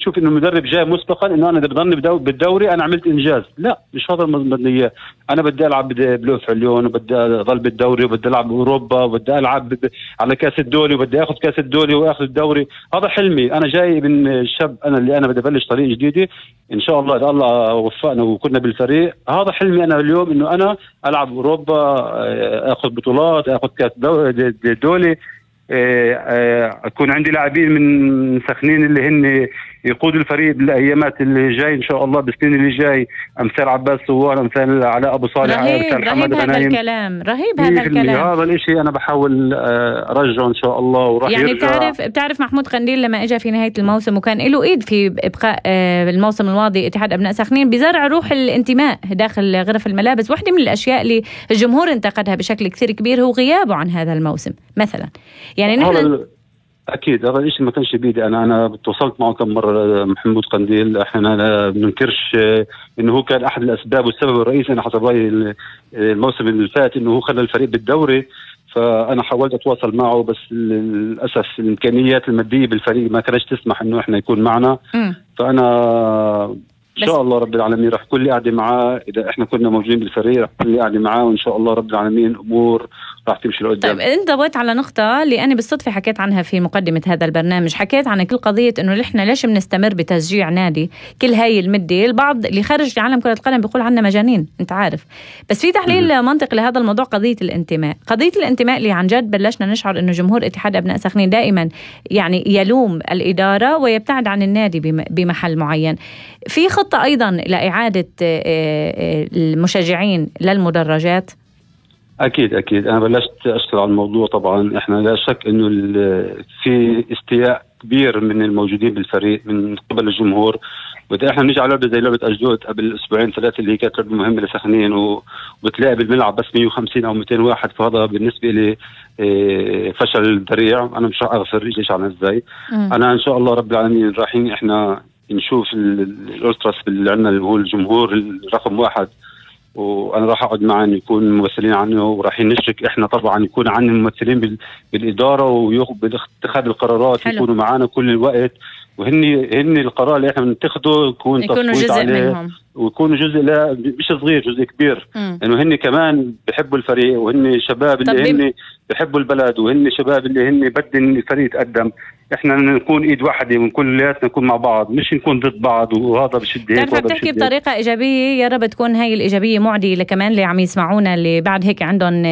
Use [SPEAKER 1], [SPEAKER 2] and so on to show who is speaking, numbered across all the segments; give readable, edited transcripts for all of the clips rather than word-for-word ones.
[SPEAKER 1] تشوف انه المدرب جاي مسبقا انه انا اذا بضلني بالدوري انا عملت انجاز. لا، مش هذا بدي اياه. انا بدي العب بلوف عليون، وبدي اضل بالدوري، وبدي العب باوروبا، وبدي العب على كاس الدولي، وبدي اخذ كاس الدولي واخذ الدوري. هذا حلمي. انا جاي من الشاب، انا بدي ابلش طريق جديده ان شاء الله اذا الله وفقنا وكنا بالفريق. هذا حلمي انا اليوم، انه انا العب اوروبا، اخذ بطولات، اخذ كاس دولي، يكون عندي لاعبين من سخنين اللي هن يقودوا الفريق بالايامات اللي جاي ان شاء الله، بالسنين اللي جاي، امثال عباس صوار، امثال علاء ابو صالح، امثال حمد غنايم.
[SPEAKER 2] رهيب هذا الكلام.
[SPEAKER 1] هذا الاشي انا بحاول ارجعه ان شاء الله، وراح
[SPEAKER 2] يعني
[SPEAKER 1] يرجع.
[SPEAKER 2] بتعرف محمود قنديل لما اجى في نهايه الموسم وكان له ايد في ابقاء الموسم الماضي اتحاد ابناء سخنين بزرع روح الانتماء داخل غرف الملابس. واحده من الاشياء اللي الجمهور انتقدها بشكل كثير كبير هو غيابه عن هذا الموسم مثلا. يعني نحن
[SPEAKER 1] اكيد هذا الشيء ما كانش بيدي. انا تواصلت معه كم مره محمود قنديل. احنا ما بننكرش انه هو كان احد الاسباب والسبب الرئيسي، انا حسب رايي الموسم اللي فات، انه هو خلى الفريق بالدوري. فانا حاولت اتواصل معه، بس للاسف الامكانيات الماديه بالفريق ما كانتش تسمح انه احنا يكون معنا. فانا ان شاء الله رب العالمين راح كل قاعده معاه. اذا احنا كنا موجودين بالفريق راح كل قاعده معاه، وان شاء الله رب العالمين الامور راح تمشي لقدام.
[SPEAKER 2] طيب انت ضويت على نقطه اللي انا بالصدفه حكيت عنها في مقدمه هذا البرنامج. حكيت عن كل قضيه انه احنا ليش بنستمر بتشجيع نادي كل هاي المده. البعض اللي خارج عالم كره القدم بيقول عنا مجانين، انت عارف. بس في تحليل منطقي لهذا الموضوع، قضيه الانتماء اللي عن جد بلشنا نشعر انه جمهور اتحاد ابناء سخنين دائما يعني يلوم الاداره ويبتعد عن النادي بمحل معين. في خطه ايضا لاعاده المشجعين للمدرجات.
[SPEAKER 1] اكيد انا بلشت اشتغل على الموضوع. طبعا احنا لا شك انه في استياء كبير من الموجودين بالفريق من قبل الجمهور. وإذا احنا نيجي على لعبه زي لعبه أشدود قبل اسبوعين ثلاثه اللي هي كانت لعبه مهمه لسخنين، وبتلاقي بالملعب بس 150 او 200 واحد، فهذا بالنسبه لي فشل ذريع. انا مش راح اغفر ليش عن ازاي. انا ان شاء الله رب العالمين رايحين احنا نشوف الالتراس اللي عندنا اللي هو الجمهور الرقم واحد، وانا راح اقعد معهم يكون ممثلين عنه، ورايحين نشرك احنا طبعا يكون عندنا ممثلين بالاداره وباتخاذ القرارات. حلو. يكونوا معنا كل الوقت، وهن القرار اللي احنا بنتخذه يكونوا
[SPEAKER 2] جزء منهم،
[SPEAKER 1] ويكونوا جزء، لا مش صغير، جزء كبير. لانه هن كمان بيحبوا الفريق، وهن شباب اللي هن بيحبوا البلد، وهن شباب اللي هن بدهم الفريق يتقدم. احنا نكون ايد واحده ونكونياتنا نكون مع بعض، مش نكون ضد بعض وهذا بشد هيك وهذا
[SPEAKER 2] بتحكي بطريقه ايجابيه. يا رب تكون هاي الايجابيه معديه كمان اللي عم يسمعونا، اللي بعد هيك عندهم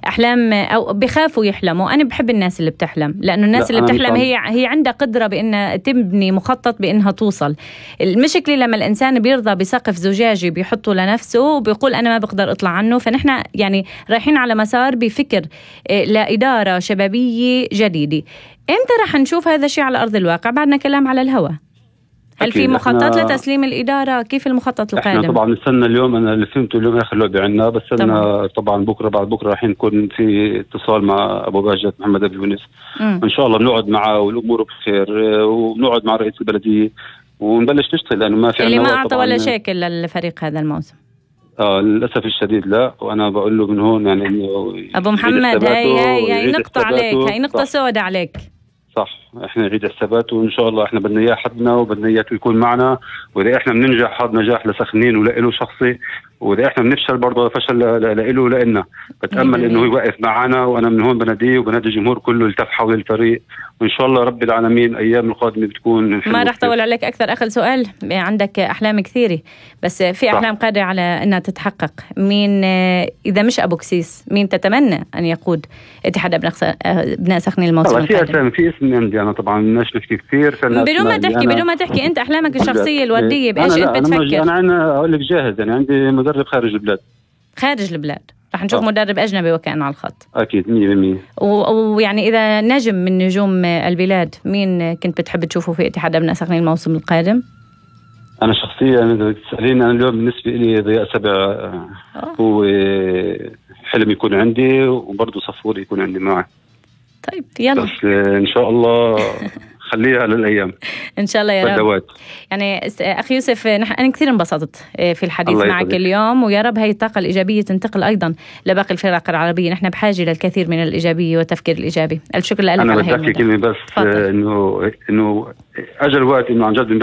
[SPEAKER 2] احلام او بخافوا يحلموا. انا بحب الناس اللي بتحلم، لانه الناس اللي بتحلم هي عندها قدره بانها تبني مخطط بانها توصل. المشكله لما الانسان بيرضى بسقف زجاجي بيحطه لنفسه وبيقول انا ما بقدر اطلع عنه. فنحن يعني رايحين على مسار بفكر لاداره شبابيه جديده. امتى رح نشوف هذا الشيء على أرض الواقع؟ بعدنا كلام على الهواء. هل في مخطط لتسليم الإدارة؟ كيف المخطط القادم؟
[SPEAKER 1] احنا طبعا نستنى اليوم. أنا اللي فهمته اليوم آخر لعبة عندنا، بس أنا طبعا بكرة بعد بكرة راح نكون في اتصال مع أبو باجت محمد أبو يونس. إن شاء الله بنقعد معه والأمور بخير، ونقعد مع رئيس البلدية ونبلش نشتغل، لأنه ما في
[SPEAKER 2] اللي ما أعطى ولا شيكل للفريق هذا الموسم.
[SPEAKER 1] للأسف الشديد لا. وأنا بقول له من هون يعني إنه
[SPEAKER 2] أبو محمد هاي نقطة عليك، هاي نقطة سوداء عليك.
[SPEAKER 1] صح، احنا نريد حساباته، وان شاء الله احنا بدنا اياه حدنا وبدنا اياه يكون معنا. واذا احنا بننجح هذا نجاح لسخنين وله شخصي، واذا احنا بنفشل برضه فشل له لنا. بتامل انه يوقف معنا، وانا من هون بناديه وبنادي الجمهور كله التف حول الفريق، وان شاء الله رب العالمين ايام القادمه بتكون.
[SPEAKER 2] ما راح طول عليك اكثر. اخر سؤال، عندك احلام كثيره بس في احلام قادره على انها تتحقق. مين اذا مش ابو كسيس مين تتمنى ان يقود اتحاد ابناء سخنين الموسم القادم؟
[SPEAKER 1] في اسم عندي انا طبعا بدناش نحكي كثير
[SPEAKER 2] بدون ما تحكي انت احلامك الشخصيه الورديه بايش انت بتفكر؟
[SPEAKER 1] انا اقول لك جاهز، يعني عندي مدرب خارج البلاد. رح نشوف مدرب أجنبي وكأنه على الخط. أكيد 100%.
[SPEAKER 2] ويعني إذا نجم من نجوم البلاد مين كنت بتحب تشوفه في اتحاد أبناء سخنين الموسم القادم؟
[SPEAKER 1] أنا شخصيا إذا تسأليني أنا اليوم بالنسبة لي ضياء سبع هو حلم يكون عندي، وبرضه صفور يكون عندي معه.
[SPEAKER 2] طيب يلا
[SPEAKER 1] بس إن شاء الله خليها للأيام
[SPEAKER 2] إن شاء الله يا رب. يعني أخي يوسف أنا كثير انبسطت في الحديث معك اليوم، ويا رب هاي الطاقة الإيجابية تنتقل أيضا لباقي الفرق العربية. نحن بحاجة للكثير من الإيجابية والتفكير الإيجابي. الشكر لك.
[SPEAKER 1] أنا بدي أحكي كلمة بس إنه أجل وقت إنه عن جد